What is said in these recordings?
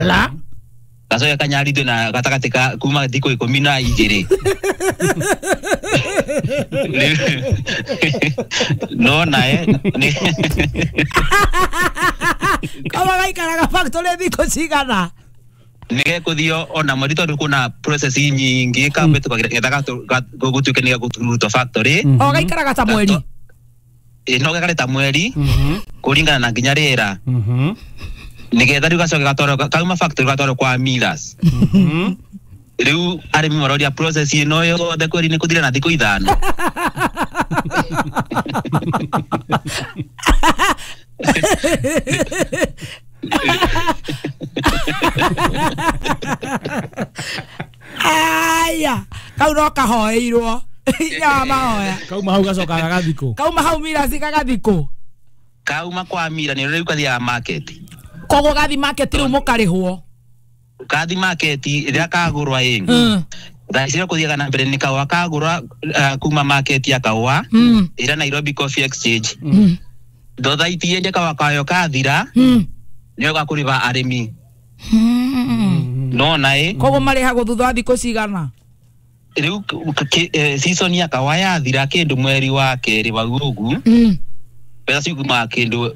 La gacoke kanyarithio na gatagatĩ ka kuma thikũ 12. No nae kama gaikaraga factory thikũ cigana? Nĩgekũthio ona mweri tondũ kuna process nyingĩ kambĩtũka getha gũtuĩke nĩ gakũrutwo factory. O gaikaraga ta mweri? No gekare ta mweri kũringana na nginya rĩera. Nĩgetha rĩu gacoke gatwarwo kauma factory gatwarwo kwa millers. Rĩu arĩmi maroria process ĩno yothe kweri nĩ kũthira na thikũ 5. Aya, kau no kahoeirwo. Ya mahoya. Kauma hau gacoka gagathikũ. Kauma hau millers gagathikũ. Kauma kwa mira nĩ rĩu kathiaga market. Koguo gathi market rĩu mũkarĩhwo. Kathi market rĩrĩa kagũrwa ĩ. Thaa ici kũthiaga na mbere nĩ kahũa kagũrwa kuma market ya kahũa ĩrĩa Nairobi Coffee Exchange. Thothaiti yendia kahũa kayo kathira nĩyo gakũrĩba arĩmi. No naĩ koguo marĩhagwo thutha wa thikũ cigana? Rĩu season ya kahũa yathira kĩndũ mweri wa kerĩ wa ũguo. Mbeca ciumaga kĩndũ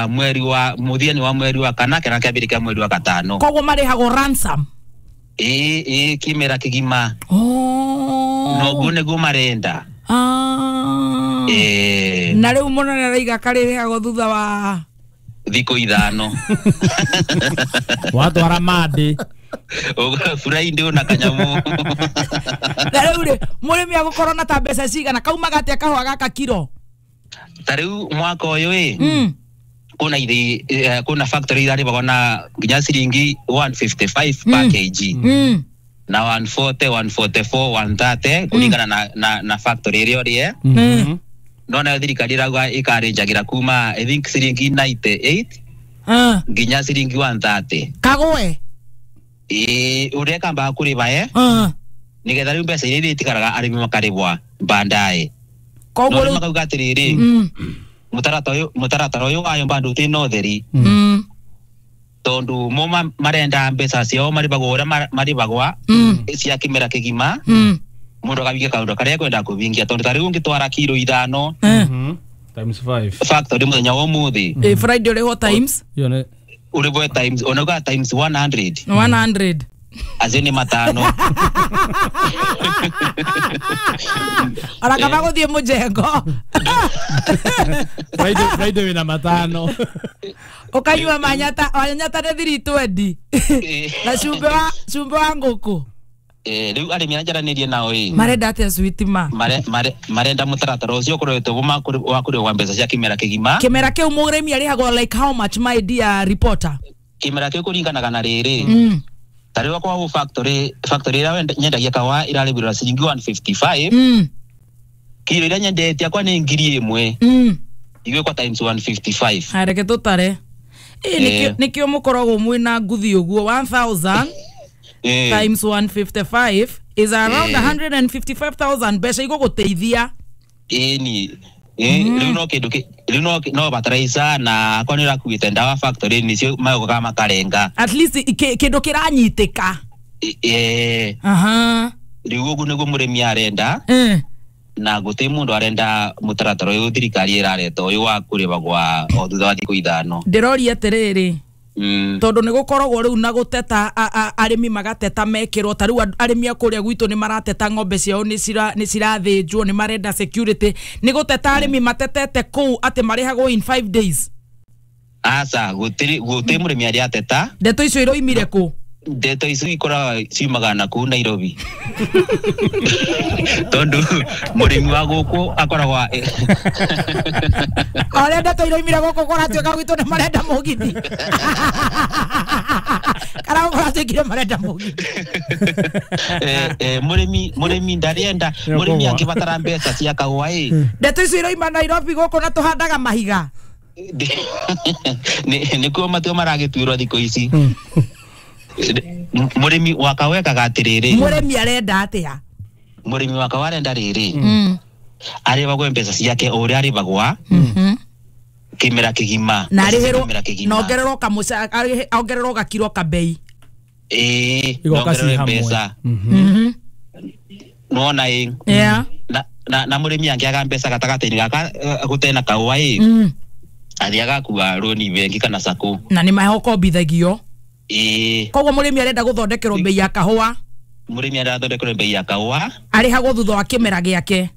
mweri wa mũthia-inĩ wa mweri wa kana kana kĩambĩrĩria kĩa mweri wa gatano. Koguo marĩhagwo ransom? Ĩĩ kĩmera kĩgima. Noguo nĩguo marenda. Na rĩu mũnene araiga karĩrĩhagwo thutha wa thikũ 5. Watwara mandĩ. Friday na kanyamu. Na rĩu rĩ mũrĩmi agũkorwo na ta mbeca cigana? Kaumaga atĩa kahũa gaka kiro? Ta rĩu mwaka ũyũ ĩ kuna ithi kuna factory irarĩhagwo na nginya ciringi 155 per kg na 140, 144, 130 kũringana na factory ĩrĩa ũrĩ. No nayo thirikari ĩrauga ĩkarĩnjagĩra kuma I think ciringi 98 nginya ciringi 130. Kagwe? Ĩĩ ũrĩa kambaga kũrĩba nĩgetha rĩu mbeca iria itigaraga arĩmi makarĩhwa baadaye. Koguo rĩu makauga atĩrĩrĩ mũtaratara ũyũ wayo bado ũtĩ na ũtheri tondũ mo marenda mbeca ciao marĩhagwo ũrĩa marĩhagwa cia kĩmera kĩgima. Mũndũ akahingia kaũndũ karĩa ekwenda kũhingia tondũ ta rĩu ũngĩtwara kiro 5 times 5 factory mũthenya wa ũmũthĩ. Friday ũrĩhwo times? Ũrĩhwo times onauga times 100. 100. Acio nĩ 5. Ona kaba gũthiĩ mũjengo. Friday wĩna 5. Ũkanyua manyata, manyata nĩ 320. Na cumbĩ wa ngũkũ. Rĩu arĩmi arĩa njaranĩrie nao ĩ marenda atĩa sweetima? Marenda mũtaratara ũcio ũkoretwo wa kũrĩhwo mbeca cia kĩmera kĩgima. Kĩmera kĩu mũrĩmi arĩhagwo like how much my dear reporter? Kĩmera kĩu kũringanaga na rĩrĩ. Ta rĩu kwa factory ĩrĩa nyendagia kahũa ĩrarĩhĩrwo ciringi 155. Kiro ĩrĩa nyendetie akwa nĩ 1000. Igwĩkwo times 155. Reke tũtare. Nĩkĩo mũkoragwo mwĩna nguthi ũguo 1000 times 155 is around 155,000 mbeca igũgũteithia. Ĩni rĩu no kĩndũ rĩu no bataraitha na akwa nĩ ũrakuĩte ndawa factory nĩcio magokaga makarenga. At least kĩndũ kĩranyitĩka. Rĩu ũguo nĩguo mũrĩmi arenda. Na gũtirĩ mũndũ arenda mũtaratara ũyũ thirikari ĩrareta ũyũ wa kũrĩhagwo o thutha wa thikũ 5. Ndĩroria atĩrĩrĩ tondũ nĩ gũkoragwo rĩu na gũteta arĩmi magateta mekĩrwo ta rĩu arĩmi a kũrĩa gwitũ nĩ marateta ng'ombe ciao nĩ cirathĩnjwo nĩ marenda security. Nĩ gũteta arĩmi matetete kũu atĩ marĩhagwo in 5 days? Aca gũtirĩ mũrĩmi arĩa ateta. Ndeto icio iroimire kũ? Ndeto icio ikoragwo ciumaga na kũu Nairobi. Tondũ mũrĩmi wa gũkũ akoragwo Arĩa ndeto iroimire gũkũ kũratuĩka gwitũ nĩ marenda mũgithi. Kana kũratuĩkire marenda mũgithi. Mũrĩmi ndarenda mũrĩmi angĩbatara mbeca cia kahũa ĩ. Ndeto icio iroima Nairobi gũkũ na tũhandaga mahiga. Nĩkuo matuo maragĩtuĩrwo thikũ ici. Mũrĩmi wa kahũa ekaga atĩrĩrĩ. Mũrĩmi arenda atĩa? Mũrĩmi wa kahũa arenda rĩrĩ. Arĩhagwo mbeca ciake o ũrĩa arĩhagwa kĩmera kĩgima. Na arĩhĩrwo na ongererwo kamũca ongererwo gakiro kabei. Igoka ci hamwe. Mbeca nona ĩ na mũrĩmi angĩaga mbeca gatagatĩ-inĩ gaka gũtena kahũa ĩ athiaga kua rũni bengi kana sacco na nĩ mahokombithagio. Koguo mũrĩmi arenda gũthondekerwo bei ya kahũa. Mũrĩmi arenda gũthondekerwo bei ya kahũa arĩhagwo thutha wa kĩmera gĩake.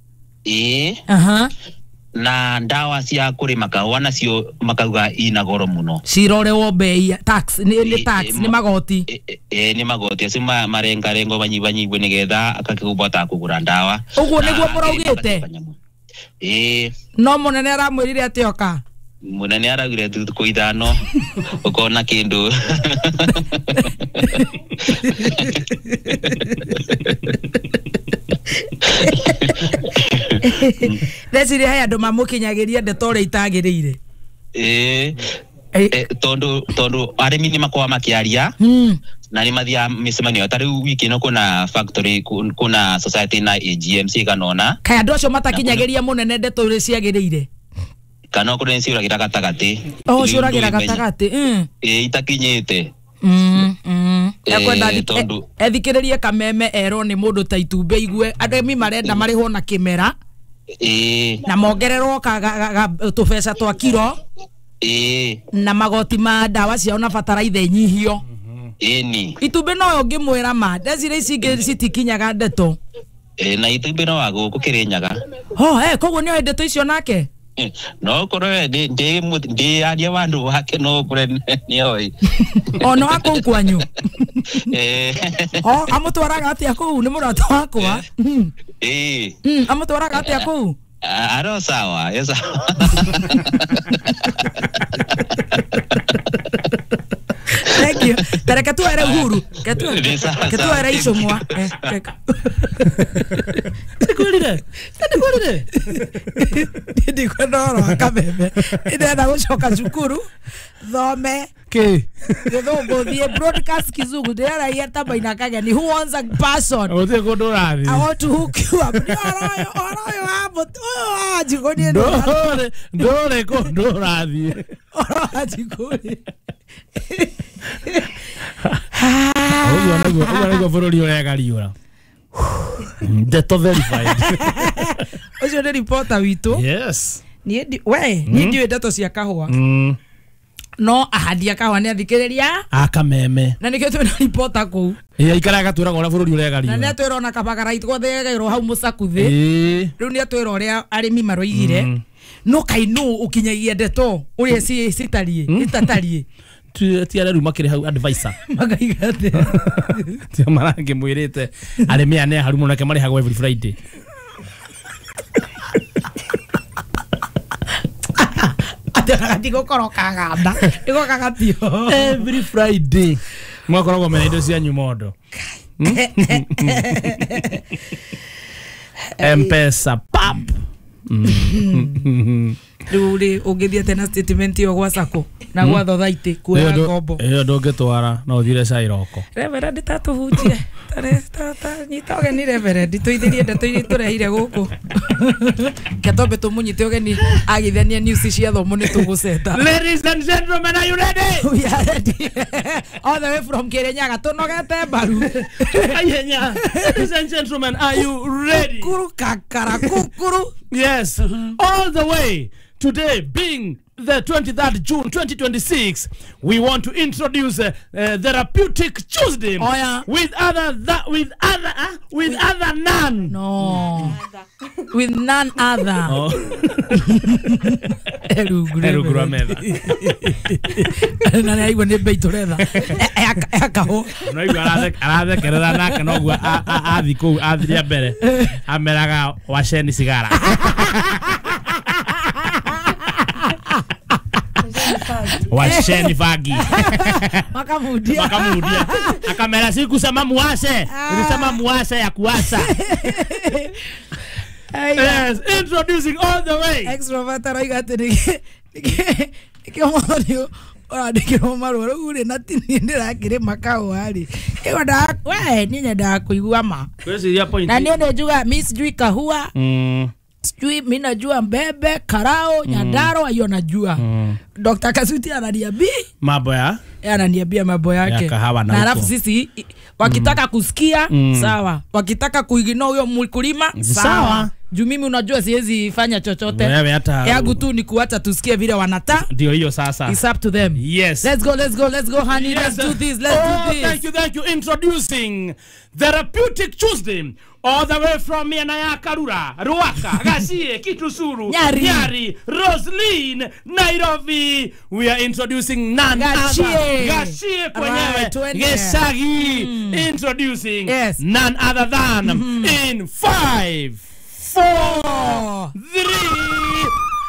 Na ndawa cia kũrĩma kahũa nacio makauga ina goro mũno. Cirorewo bei tax nĩ tax nĩ magoti. Nĩ magoti acio marengarengo banyibanyibwe nĩgetha akakĩhota kũgũra ndawa. Ũguo nĩguo mũraugĩte? No mũnene aramwĩrire atĩ oka. Mũnene araugire thikũ 5 ũkona kĩndũ. Ndeciria he andũ mamũkinyagĩria ndeto ũrĩa itagĩrĩire. Tondu arĩmi nĩ makoragwo makĩaria na nĩ mathiaga mĩcemanio ta rĩu wiki ĩno kuna factory kuna society na AGMC kanona. Kaĩ andũ acio matakinyagĩria mũnene ndeto ũrĩa ciagĩrĩire? Kana okorwo nĩ ciũragĩra gatagatĩ. Oh, ciũragĩra gatagatĩ. Itakinyĩte. Ekwenda ethikĩrĩrie kameme erwo nĩ mũndũ ta itumbĩ igue arĩmi marenda marĩhwo na kĩmera na mongererwo tũbeca twa kiro na magoti ma ndawa ciao na bataraitha inyihio. Itumbĩ no ũngĩmwĩra ma ndecira ici ingĩ citikinyaga ndeto. Na itumbĩ no wa gũkũ Kĩrĩnyaga. Koguo nĩoĩ ndeto icio nake? No korwo ndi aria wandu wake no korwo nĩoĩ. Ona wa kũu kwanyu? Amũtwaraga atĩa kũu? Nĩ mũrata wakwa. Amũtwaraga atĩa kũu? Aro sawa, yo sawa. Thank you. Tareke tuere Uhuru. Ke tuere icũng'wa. Ndikwĩrire. Ndikwĩrire. Ndikwenda ũhoro wa kameme. Ndĩrenda gũcoka cukuru thome Kĩ? Gĩthũngũ thiĩ broadcast kizungu ndĩreraia ta Maina Kageni who wants a person. Gũtirĩ kũndũ ũrathiĩ. I want to hook you up. Nĩ ũhoro ũyũ wa mũtĩ ũyũ wa njikũ niĩ Ndũrĩ kũndũ ũrathiĩ. Ũhoro wa njikũ rĩ. Ũguo nĩguo bũrũri ũregariũra. Ndeto verified. Ũcio nĩ reporter witũ. Yes. Niĩ ndiũĩ ndeto cia kahũa. No ahandi a kahũa nĩ athikĩrĩria akameme. Na nĩkĩo twĩna reporter kũu. Aikaraga atwĩraga ũrĩa bũrũri ũregariũra. Na nĩ atwĩra ona kabagara gothe hau mũcakuthĩ. Rĩu nĩ atwĩra ũrĩa arĩmi maroigire. No kaĩ nũ ũkinyagia ndeto ũrĩa citariĩ itatariĩ. Ti arĩa rĩu makĩrĩ hau advisor. Makaiga atĩa? Ti marangĩmwĩrĩte arĩmi aya nĩ aharu mũno nake marĩhagwo every Friday. Atĩ kaganda. Ndigũkagagatio. Every Friday. Mwakoragwo mena indo cianyu mondo. M-Pesa pap. Rĩu rĩ ũngĩthiĩ tena statement ĩyo gwa sacco na gwa thothaitĩ kuoya ngombo. Ĩyo ndũngĩtwara no ũthire cai roko. Reverend tatũhunjie. Nyita ũgeni Reverend tũithĩrie ndeto iria tũrehire gũkũ. Ke twambe tũmũnyite ũgeni agithania news cia thomo nĩ tũgũceta. Ladies and gentlemen, are you ready? We are ready. All the way from Kirinyaga tũnogete mbaru. Ihenya. Ladies and gentlemen, are you ready? Kukuru kakara kukuru. Yes, all the way. Today being the 23rd June 2026, we want to introduce Therapeutic Tuesday. Oh, yeah. With other none. No. With none other. Oh. Erugura metha. Na nĩ aigua nĩ mbei tũretha. Akahũ. No aigua arathekerera nake noguo athi kũu athi rĩa mbere ameraga waceni cigara. Washeni fagi. Makamudia. Makamudia. Akamera siku sema muashe. Nilisema muashe ya kuasa. Yes, introducing all the way. Extrovert arauga atĩ nĩkĩo ũrandĩkĩrwo marũa rĩu rĩ na ti niĩ ndĩrakĩrĩma kahũa rĩ. We niĩ nyendaga kũigua ma. Kwĩciria point. Na niĩ nĩ njugaga mi sijui kahũa. Sijui mimi najua Mbembe, Karao, Nyandarua hiyo najua. Dr. Kasuti ananiambia mambo ya ananiambia mambo yake. Ya na alafu sisi wakitaka kusikia sawa, wakitaka kuignore huyo mkulima sawa. Juu mimi unajua siwezi fanya chochote. Yangu tu ni kuacha tusikie vile wanata. Ndio hiyo sasa. It's up to them. Yes. Let's go, let's go, let's go honey. Yes. Let's do this, let's do this. Thank you, thank you. Introducing Therapeutic Tuesday. All the way from Miana Karura, Ruaka, Gashie, Kitusuru, Nyari, Roslyn, Nairobi. We are introducing none other. Gashie kwenyewe. Geshagi. Introducing none other than in 5, 4, 3,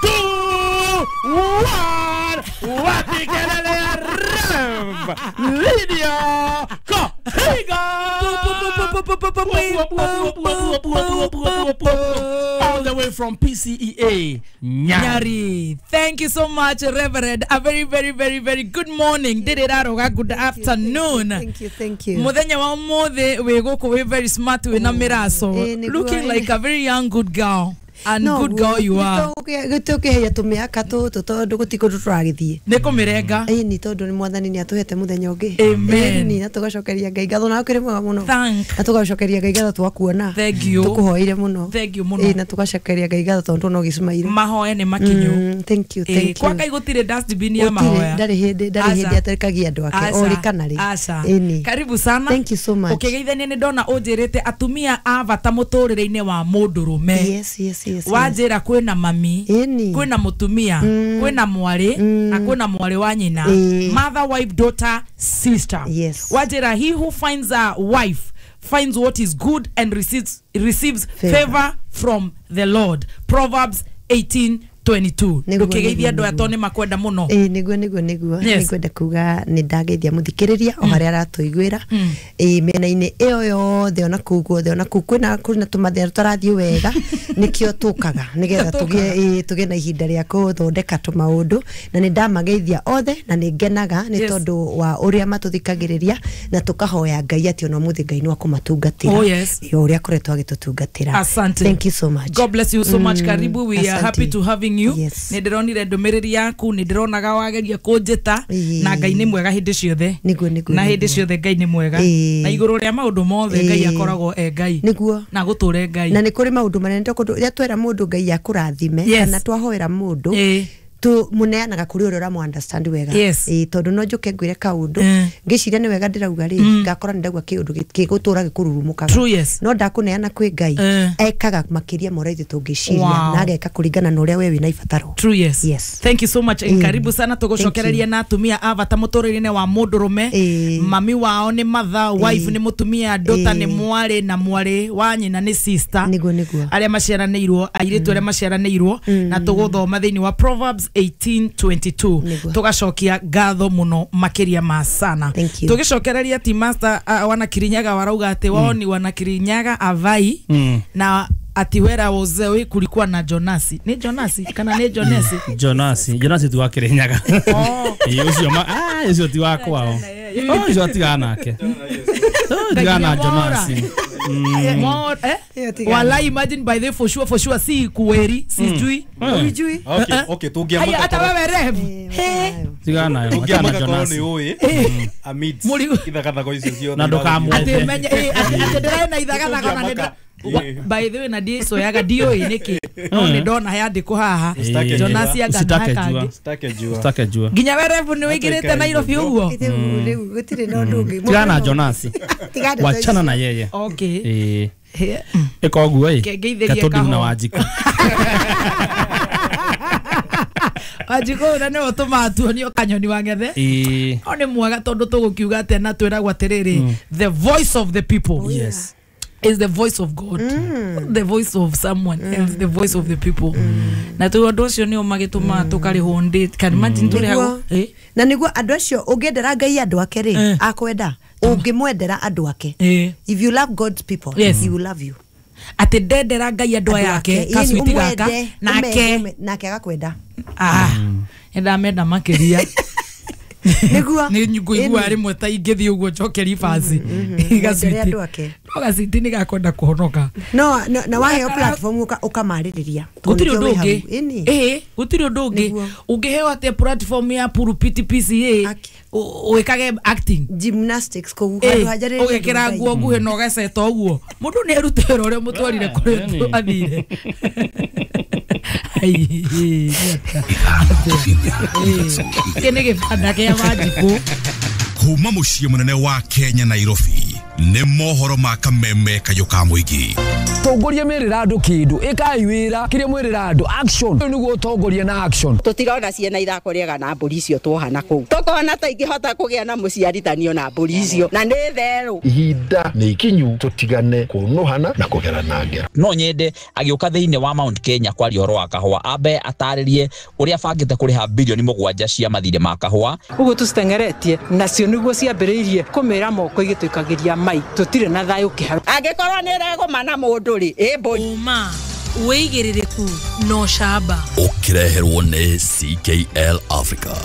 2, 1. Wapi kelele ya Rev Lydia Kohiga. All the way from PCEA Nyari. Thank you so much, Reverend. A very, very, very, very good morning. Good afternoon. Thank you, thank you. Muthenya wa umuthi wi guku wi very smart wi na miraco. Looking like a very young good girl. And no, good girl you are. Gũtũkĩheia tũmĩaka tũtũ tondũ gũtirĩ kũndũ tũragĩthiĩ. Nĩ kũmĩrenga. Ĩni tondũ nĩ Mwathani nĩ atũhete mũthenya ũngĩ. Amen. Ĩni na tũgacokeria Ngai ngatho na ũkĩrĩ mwega mũno. Na tũgacokeria Ngai ngatho twakuona. Thank you. Tũkũhoeire mũno. Thank you mũno. Ĩ na tũgacokeria Ngai ngatho tondũ no gĩcumaire. Mahoya nĩ makinyu. Thank you, thank you. Kwa Ngai gũtirĩ dustbin ya mahoya. Ndarĩ hĩndĩ atarekagia andũ ake o rĩ kana rĩ. Ĩni. Karibu sana. Thank you so much. Ũkĩgeithania nĩ ndona ũnjĩrĩte atumia a bata mũtũrĩre-inĩ wa mũndũrũme. Yes, yes, yes. Wajira kwina mami, kwina mutumia, kwina mwari, na kwina mwari wa nyina. Mother, wife, daughter, sister. Yes. Wajira, he who finds a wife finds what is good and receives favor from the Lord. Proverbs 18:22. Ndukigeithia andu aya ni makwenda muno. Niguo nĩngwenda kuga nĩ ndageithia mũthikĩrĩria o harĩa aratũiguĩra mĩena-inĩ ĩyo yothe ona kũu guothe ona kũu kwĩna tũmathĩna tũtarathiĩ wega nĩkĩo tũkaga nĩgetha tũgĩe na ihinda rĩa kũthondeka tũmaũndũ na nĩ ndamageithia othe na nĩ ngenaga nĩ tondũ wa ũrĩa matũthikagĩrĩria na tũkahoya Ngai atĩ ona ũmũthĩ Ngai no akũmatungatĩra o ũrĩa akoretwo agĩtũtungatĩra. Asante. Thank you so much. God bless you so much. Karibu. We are happy to having you. Yes. Nĩ ndĩronire ndũmĩrĩri yaku, nĩ ndĩronaga wageria kũnjĩta na Ngai nĩ mwega hĩndĩ ciothe. Na hĩndĩ ciothe Ngai nĩ mwega. Na igũrũ rĩa maũndũ mothe Ngai akoragwo e Ngai. Nĩguo. Na gũtũre Ngai. Na nĩ kũrĩ maũndũ manene tondũ rĩrĩa twera mũndũ Ngai akũrathime kana twahoera mũndũ tu muneanaga kuri uria uramu understand wega. Tondu no njuke ngwire kaundu ngiciria ni wega ndirauga ri ngakora ndagwa kiundu gigutura gikururumukaga no ndakuneana kwi Ngai ekaga makiria mora ithu tungiciria na ageka kuringana na uria we wina ibataro. True, yes. Yes. Thank you so much. Karibu sana tugucokereria na atumia a bata muturire-ini wa mundurume. Mami wao ni mother, wife ni mutumia, daughter ni mwari na mwari wa nyina ni sister. Niguo niguo. Aria maciaranĩirwo airitu aria maciaranĩirwo na tuguthoma thiini wa Proverbs 18:22 tugacokia ngatho muno makiria ma sana. Tugicokereria ti master wana Kirinyaga warauga ati wao ni wana Kirinyaga avai na ati wera wozewe kulikuwa na Jonasi. Ni Jonasi kana ni Jonesi? Jonasi, Jonasi tu wa Kirinyaga. Oh. Ucio ma ucio ti wa kwao. Oh, ucio atigana nake. Tigana Jonasi. More Walai, imagine by the for sure si kuweri sijui. Ujui. Okay, okay, tugiamaka. Hata wewe rev. He. Tigana nayo. Tugiamaka korwo ni ui. Amid ithagathago icio ciothe. Na ndukamwethe. Ati menye ati ndĩrena ithagathago na nĩ by the way na ndicoyaga ndiũĩ nĩkĩ no nĩ ndona yandĩkwo haha Jonasi anga Usitake jua nginya we rev nĩ wĩingĩrĩte Nairobi ũguo rĩu gũtirĩ na ũndũ ũngĩ. Tigana Jonasi, wachana na yeye. Okay, ĩka ũguo ĩ katũndu na Wanjikũ. Wanjikũ na nĩwe ũtũmaga tuonio kanyoni wa ng'ethe. No nĩ mwega tondũ tũgũkiuga atĩa na twĩragwo atĩrĩrĩ, the voice of the people. Yes. Is the voice of God, the voice of someone else, the voice of the people. Na tu andu acio nio magituma tukarihwo ndĩ. Can imagine turihagwo na niguo andu acio ungiendera Ngai andu ake ri akwenda ungimwendera andu ake. If you love God's people, he will love you. Ati ndendera Ngai andu ake kasuiti gaka nake nake agakwenda. Ndamenda makiria. Nĩguo nĩ ngũigua rĩmwe ta ingĩthiĩ ũguo njoke ribaci Gacwiti no gacwiti nĩ gakwenda kũhonoka no na waheo platform ũkamarĩrĩria gũtirĩ ũndũ ũngĩ ĩĩ gũtirĩ ũndũ ũngĩ ũngĩheo atĩa platform ya pulpit PCA wĩkage acting gymnastics kũu handũ hajarĩrĩria ũgekĩra nguo nguhĩ na ũgaceta ũguo mũndũ nĩ erute wĩra ũrĩa mũtwarire kũrĩa athire. Gĩkĩ nĩ gĩbanda kĩa Wanjikũ. Kuma mũciĩ mũnene wa Kenya Nairobi nĩ mohoro ma kameme kayũ ka mũingĩ. Tongoria merĩra andũ kĩndũ ĩkai wĩra kĩrĩa mwerĩra andũ action nĩguo ũtongoria na action. Tũtirona ciana ithako rĩega na mbũri icio tuohana kũu tũkona ta ingĩhota kũgĩa na mũciarithanio na mbũri icio na nĩ therũ. Ihinda nĩ ikinyu tũtigane kũnũhana na kũgerana ngero. No nyende agĩũka thĩinĩ wa Mount Kenya kwaria ũhoro wa kahũa ambe atarĩrie ũrĩa abangĩte kũrĩha bilioni 7 cia mathirĩ ma kahũa. Ũguo tũciteng'eretie nacio nĩguo ciambĩrĩirie kũmĩra moko igĩtũikagĩria mai tũtirĩ na thayũ kĩharo. Angĩkorwo nĩ ĩregũma na mũndũ rĩ ĩ mbũri ũma wĩigĩrĩrĩku no camba ũkĩreherwo nĩ CKL Africa.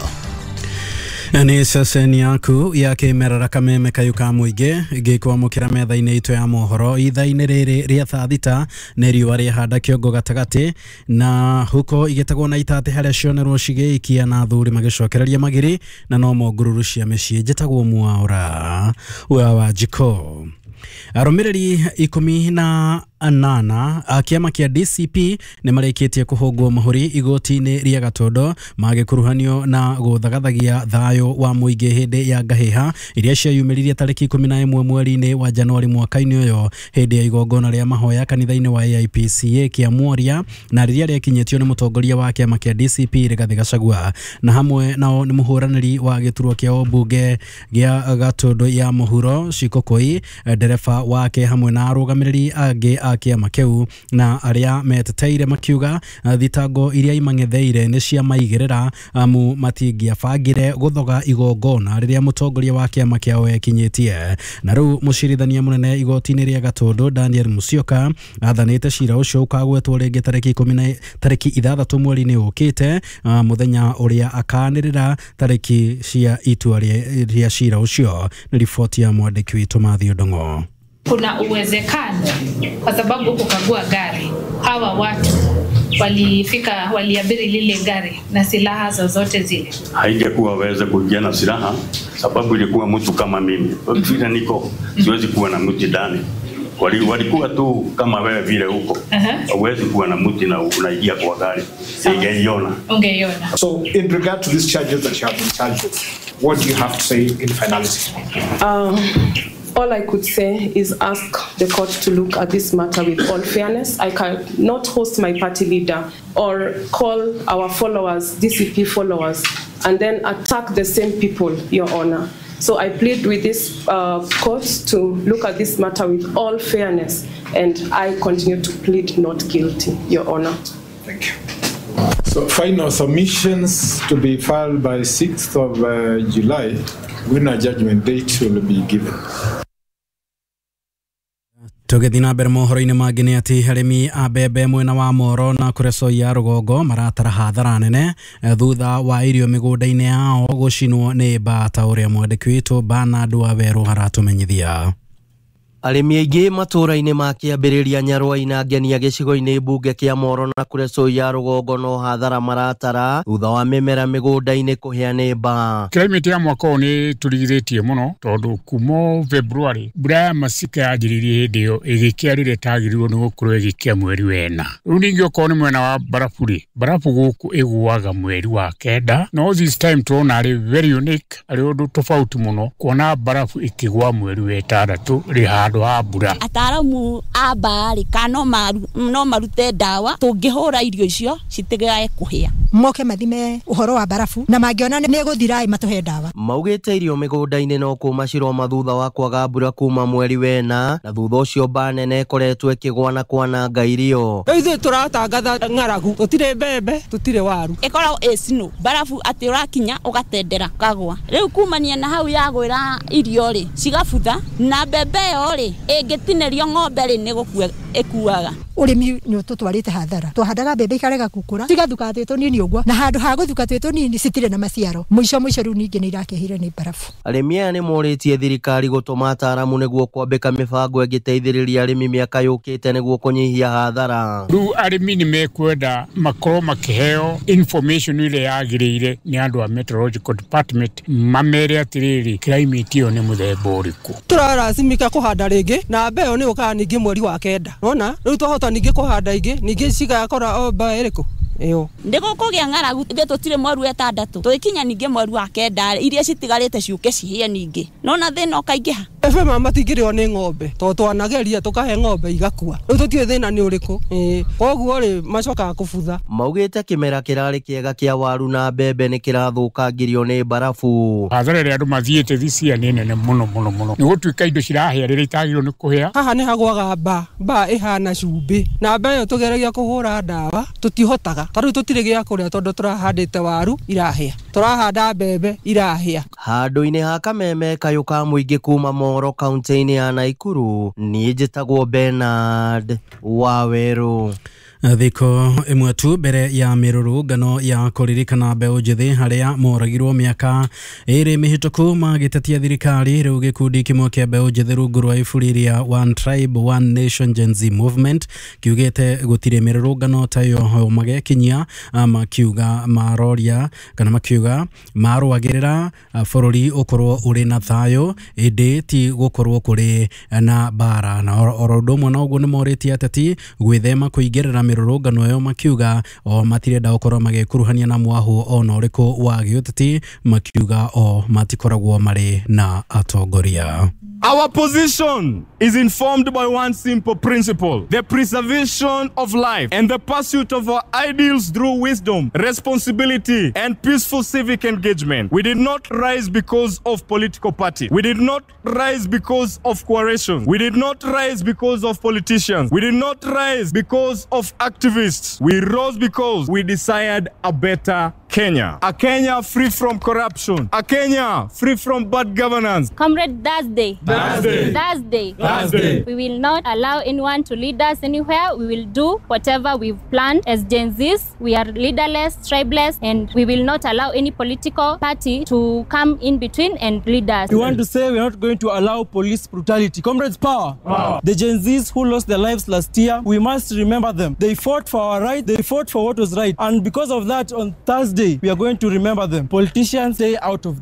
Nĩ ceceni yaku ya kĩmerera kameme kayũ ka mũingĩ ngĩkwamũkĩra metha-inĩ itũ ya mohoro ithaa-inĩ rĩrĩ rĩa thaa thita nĩ riũa rĩahanda kĩongo gatagatĩ na huko igĩtegwo na itatĩ harĩa cionerwo cigĩikia na athuri magĩcokereria magiri na no mongururu cia mĩciĩ. Njĩtagwo Mwaura wa Wanjikũ. Arũmĩrĩri 18 a kĩama kĩa DCP nĩ marĩkĩtie kũhũngwo mahũri igoti-inĩ rĩa Gatondo magĩkuruhanio na gũthagathagia thayũ wa mũingĩ hĩndĩ ya ngahĩha iria ciayumĩririe tarĩki 11 mweri-inĩ wa Januari mwaka-inĩ ũyũ hĩndĩ ya igongona rĩa mahoya kanitha-inĩ wa AIPCA kĩa Mworia na rĩrĩa rĩakinyĩtio nĩ mũtongoria wa kĩama kĩa DCP Rigathĩ Gachagua na hamwe nao nĩ mũhũranĩri wa gĩturwa kĩa ũmbunge gĩa Gatondo ya mũhuro Shikokoi, ndereba wake hamwe na arũgamĩrĩri angĩ a kĩama kĩu na arĩa meteteire makiuga thitango iria imang'etheire nĩ cia maigĩrĩra amu matingĩabangire gũthoga igongona rĩrĩa mũtongoria wa kĩama kĩao ekinyĩtie. Na rĩu mũcirithania mũnene igoti-inĩ rĩa Gatondo Daniel Musyoka athanĩte cira ũcio ũkagwetwo rĩngĩ tarĩki 6 mweri-inĩ ũkĩte mũthenya ũrĩa akanĩrĩra tarĩki cia itua rĩa cira ũcio. Nĩ riboti ya mwandĩki witũ Matthew Ndong'o. Kuna uwezekano kwa sababu kukagua gari hawa watu walifika waliabiri lile gari na silaha zozote zile. Haingekuwa waweze kuingia na silaha sababu ilikuwa mtu kama mimi. Vile niko siwezi kuwa na mti ndani. Walikuwa tu kama wewe vile huko. Huwezi kuwa na mti na unaingia kwa gari. Ungeiona. Ungeiona. So in regard to these charges that you have been charged with, what do you have to say in finality? All I could say is ask the court to look at this matter with all fairness. I cannot host my party leader or call our followers, DCP followers, and then attack the same people, Your Honor. So I plead with this court to look at this matter with all fairness, and I continue to plead not guilty, Your Honor. Thank you. So final submissions to be filed by 6th of July, when a judgment date will be given. Tũgĩthiĩ na mbere mohoro-inĩ mangĩ nĩ atĩ arĩmi a mbembe mwena wa Moro na Kuresoi ya rũgongo maratara hathara nene thutha wa irio mĩgũnda-inĩ yao gũcinwo nĩ mbaa ta ũrĩa mwandĩki witũ Bernard Wawerũ aratũmenyithia. Arĩmi aingĩ matũũra-inĩ ma kĩambĩrĩria Nyarwai na Ngenia gĩcigo-inĩ mbunge kĩa Moro na Kuresoi ya rũgongo no hathara maratara thutha wa mĩmera mĩgũnda-inĩ kũhĩa nĩ mbaa. Climate ya mwaka ũyũ nĩ tũrigithĩtie mũno tondũ kuma February mbura ya masika yanjĩrĩirie hĩndĩ ĩyo ĩgĩkĩa rĩrĩa ĩtagĩrĩirwo nĩ gũkorwo ĩgĩkĩa mweri wena. Rĩu ningĩ okorwo nĩ mwena wa barabu rĩ, barabu gũkũ ĩgũaga mweri wa 9 no this time tũrona arĩ very unique, arĩ ũndũ tofauti mũno kuona barabu ĩkĩgũa mweri wa 6 rĩ handũ ha mbura. Ataaramu a mbaa kana no marute ndawa tũngĩhũra irio icio citigae kũhĩa. Moke mathime ũhoro wa barabu na mangĩona nĩ ĩgũthira matũhe ndawa. Maugĩte irio mĩgũnda-inĩ no kũma ciroma thutha wa kwaga mbura kuma mweri wena na thutha ũcio mbaa nene ĩkoretwo ĩkĩgwa na kwananga irio. Rĩu ithuĩ tũratangatha ng'aragu, tũtirĩ mbembe, tũtirĩ waru. Ĩkoragwo ĩ snow barabu atĩ ũrakinya ũgatendera kagwa. Rĩu kumania na hau yagwĩra irio rĩ cigabutha na mbembe ĩyo rĩ ĩngĩtinĩrio ng'ombe rĩ nĩ gũkua ĩkuaga. Ũrĩmi nĩ ũtũtwarĩte hathara. Twahandaga mbembe ikarega gũkũra, cigathuka twĩ tũnini ũguo, na handũ ha gũthuka twĩ tũnini citirĩ na maciaro. Mũico mũico rĩu ningĩ nĩ irakĩhire nĩ mbarabu. Arĩmi aya nĩ morĩtie thirikari gũtũma ataaramu nĩguo kwambĩka mĩbango ĩngĩteithĩrĩria arĩmi mĩaka yũkĩte nĩguo kũnyihia hathara. Rĩu arĩmi nĩ mekwenda makorwo makĩheo information ĩrĩa yagĩrĩire nĩ andũ a meteorological department, mamere atĩrĩrĩ climate ĩyo nĩ mũthemba ũrĩkũ. Tũrarasimika kũhanda rĩngĩ na mbeo nĩ ũkaga ningĩ mweri wa 9. Nona rĩu twahota ningĩ kũhanda ingĩ ningĩ cigakora o mbao ĩrĩkũ ĩyo. Ndigũkũgĩa ng'aragu ithuĩ tũtirĩ mweri wa 6 tũgĩkinya ningĩ mweri wa 9 iria citigarĩte ciũke cihĩe ningĩ. Nona thĩna ũkaingĩha. Ebe mama matingĩrĩo nĩ ng'ombe tondũ twanageria tũkahe ng'ombe igakua. Rĩu tũtiũĩ thĩna nĩ ũrĩkũ. Koguo rĩ macokaga kũbutha. Maugĩte kĩmera kĩrarĩ kĩega kĩa waru na mbembe nĩ kĩrathũkangirio nĩ mbarabu. Hathara ĩrĩa andũ mathiĩte this year nĩ nene mũno mũno mũno. Nĩ gũtuĩka indo cirahĩa rĩrĩa itagĩrĩirwo nĩ kũhĩa. Haha nĩ hagwaga mbaa ĩhana cumbĩ na mbaa ĩyo tũgeragia kũhũra ndawa tũtihotaga. Ta rĩu tũtirĩ gĩa kũrĩa tondũ tũrahandĩte waru irahĩa, tũrahanda mbembe irahĩa. Handũ-inĩ ha kameme kayũ ka mũingĩ kuma Moro kaunti-inĩ ya Naikuru, niĩ njĩtagwo Bernard Waweru. Thikũ ĩmwe tu mbere ya mĩrũrũngano ya kũririkana mbeũ njĩthĩ harĩa moragirwo mĩaka 2 mĩhĩtũku magĩtetia thirikari, rĩu gĩkundi kĩmwe kĩa mbeũ njĩthĩ rungu rwa iburi rĩa One Tribe One Nation Gen Z Movement kiugĩte gũtirĩ mĩrũrũngano ta ĩyo magekinyia, makiuga maroria kana makiuga marũagĩrĩra bũrũri ũkorwo ũrĩ na thayũ ĩndĩ ti gũkorwo kũrĩ na mbara. Na oro ũndũ ũmwe na ũguo nĩmorĩtie ateti gwĩthema kũingĩrĩra mĩrũrũngano ĩyo, makiuga o matirenda gũkorwo magĩkuruhania na mwahũ ona ũrĩkũ wa gĩũteti, makiuga o matikoragwo marĩ na atongoria. Our position is informed by one simple principle: the preservation of life and the pursuit of our ideals through wisdom, responsibility, and peaceful civic engagement. We did not rise because of political party. We did not rise because of coalition. We did not rise because of politicians. We did not rise because of activists. We rose because we desired a better Kenya. A Kenya free from corruption. A Kenya free from bad governance. Comrade Thursday. Thursday. Thursday. Thursday. We will not allow anyone to lead us anywhere. We will do whatever we've planned as Gen Zs. We are leaderless, tribeless, and we will not allow any political party to come in between and lead us. We want to say we are not going to allow police brutality. Comrades, power. Power. The Gen Zs who lost their lives last year, we must remember them. They fought for our right. They fought for what was right. And because of that, on Thursday, we are going to remember them. Politicians, stay out of.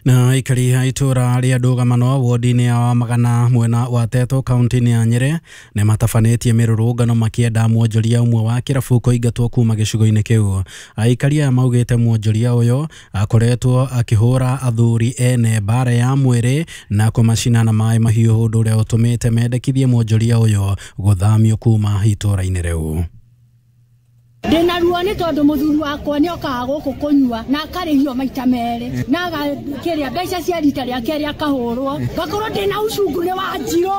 Na aikari a itũra rĩa ndũgamano wodi-inĩ ya Wamagana mwena wa Teto kaunti-inĩ ya Nyĩrĩ nĩ matabanĩtie mĩrũrũngano makĩenda mwonjoria ũmwe wa kĩrabu kũingatwo kuma gĩcigo-inĩ kĩu. Aikari aya maugĩte mwonjoria ũyũ akoretwo akĩhũra athuri ene mbara ya mwĩrĩ na kũmacina na maĩ mahiũ, ũndũ ũrĩa ũtũmĩte mendekithie mwonjoria ũyũ gũthamio kuma itũra-inĩ rĩu. Ndĩna ruo nĩ tondũ mũthuri wakwa nĩ okaga gũkũ kũnyua na akarĩhio maita merĩ na agakĩrĩa mbeca cia rita rĩa kerĩ akahũrwo, ngakorwo ndĩna ucungu nĩ wa njirũ.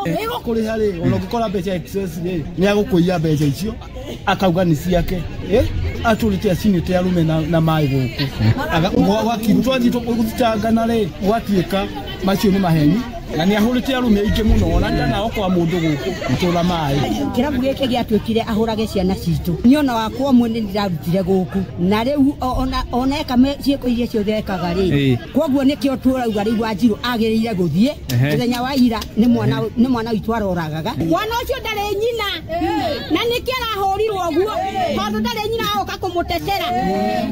Kũrĩha rĩ, ona ũngĩkora mbeca excess rĩ, nĩ agũkũiya mbeca icio akauga nĩ ciake, atũrĩte acinĩte arũme na maĩ gũkũ. Twathiĩ gũthitangana rĩ, gwatuĩka macio nĩ maheni na nĩ ahũrĩte arũme aingĩ mũno, ona ndanaokoa mũndũ gũkũ gũtũra maĩ. Kĩrabu gĩkĩ gĩatuĩkire ahũrage ciana citũ, niĩ ona wakwa ũmwe nĩ ndirarutire gũkũ na rĩu ona eka ciĩko iria ciothe ekaga rĩ, koguo nĩkĩo tũrauga rĩu Wanjirũ agĩrĩire gũthiĩ. Mũthenya wa ira nĩ mwana witũ aroragaga. Mwana ũcio ndarĩ nyina na nĩkĩo arahũrirwo ũguo tondũ ndarĩ nyina agoka kũmũtetera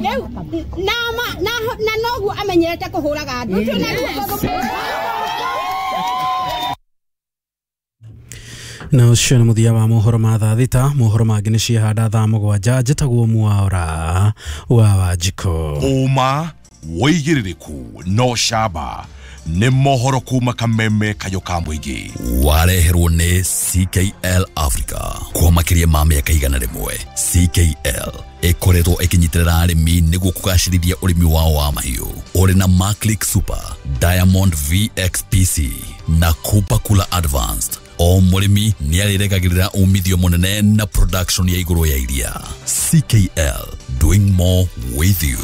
rĩu na noguo amenyerete kũhũraga andũ. Na ũcio nĩ mũthia wa mohoro ma thaa 6. Mohoro mangĩ nĩ ciahanda thaa 7. Njĩtagwo Mwaura wa Wanjikũ. Ũma wĩigĩrĩrĩku no camba nĩ mohoro kuma kameme kayũ ka mũingĩ. Wareherwo nĩ CKL Africa kwa makĩria ma mĩaka 100. CKL ĩkoretwo ĩkĩnyitĩrĩra arĩmi nĩguo kũgacĩrithia ũrĩmi wao wa mahiũ. Ũrĩ na Maclick Super, Diamond VXPC na Cooper Cooler Advanced. O mũrĩmi nĩ arĩregagĩrĩra umithio mũnene na production ya igũrũ ya iria. CKL, doing more with you.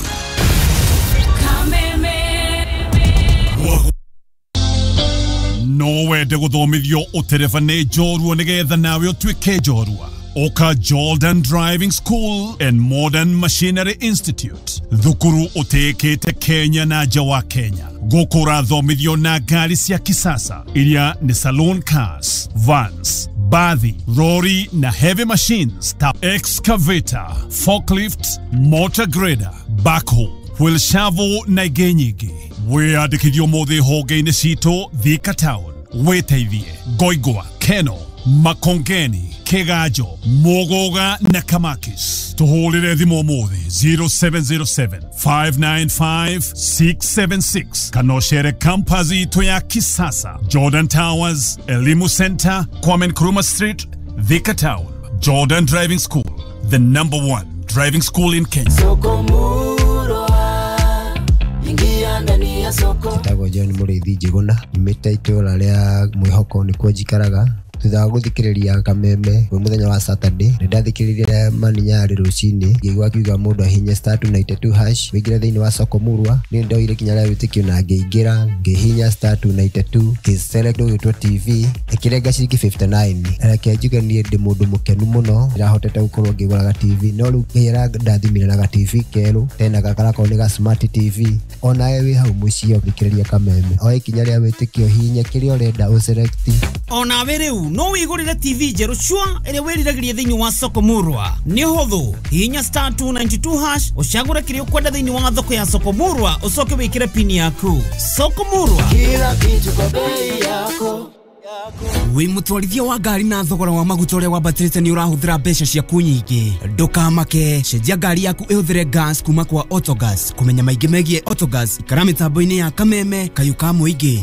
No wende gũthomithio ũtereba nĩ njorua nĩgetha nawe ũtuĩke njorua. Oka Jordan Driving School and Modern Machinery Institute, thukuru ũtĩĩkĩte Kenya na nja wa Kenya. Gũkũ ũrathomithio na ngari cia kisasa iria nĩ saloon cars, vans, bathi, rori na heavy machines ta excavator, forklift, motor grader, backhoe, wheel shovel na ingĩ nyingĩ. Wĩyandĩkithio ũmũthĩ honge-inĩ citũ Thika Town, wĩteithie Ngoingwa, Keno, Makongeni, Kiganjo, Muguga na Kamakis. Tuhũrĩre thimũ ũmũthĩ 0707 595 676 kana ũcere campus itũ ya kisasa Jordan Towers, Elimu Center, Kwame Nkrumah Street, Thika Town. Jordan Driving School, the number one driving school in Kenya. Soko Murwa, ingia ndani ya soko. Njĩtagwo John Mũrĩithi Njĩgũna, nyumĩte itũra rĩa Mwĩhoko nĩkuo njikaraga. Thutha wa gũthikĩrĩria Kameme kwĩ mũthenya wa Saturday, nĩ ndathikĩrĩirie Maninyarĩ rũcinĩ, ngĩigua akiuga mũndũ ahihinye *292# wĩingĩre thĩinĩ wa soko Murwa. Niĩ nĩndoire ikinya rĩa wĩtĩkio na ngĩingĩra, ngĩhihinya *292 ngĩ-select ũgĩtwo TV, ĩkĩrenga ciringi 59. Reke njuge niĩ ndĩ mũndũ mũkenu mũno, ndĩrahotete gũkorwo ngĩgũra ga TV, no rĩu Ngai arandathimire na ga TV kerũ, tena gakarakorwo nĩ ga smart TV. Onawe wĩ hau mũciĩ ũthikĩrĩria Kameme, oe ikinya rĩa wĩtĩkio, hihinya kĩrĩa ũrenda ũ-select. Onawe rĩu no wĩgũrĩre TV njerũ cua ĩrĩa wĩriragĩria thĩinĩ wa soko Murwa. Nĩ ũhũthũ, hihinya *292# ũcagũre kĩrĩa ũkwenda thĩinĩ wa thoko ya soko Murwa, ũcoke wĩkĩre pini yaku. Soko Murwa, kila kitu kwa bei yako. Wĩ mũtwarithia wa ngari na thogora wa maguta ũrĩa wambatĩrĩte nĩ ũrahũthĩra mbeca ciaku nyingĩ. Ndũkamake, cenjia ngari yaku ĩhũthĩre gas kuma kwa Autogas. Kũmenya maingĩ megiĩ Autogas, ikara mĩtambo-inĩ ya Kameme kayũ ka mũingĩ.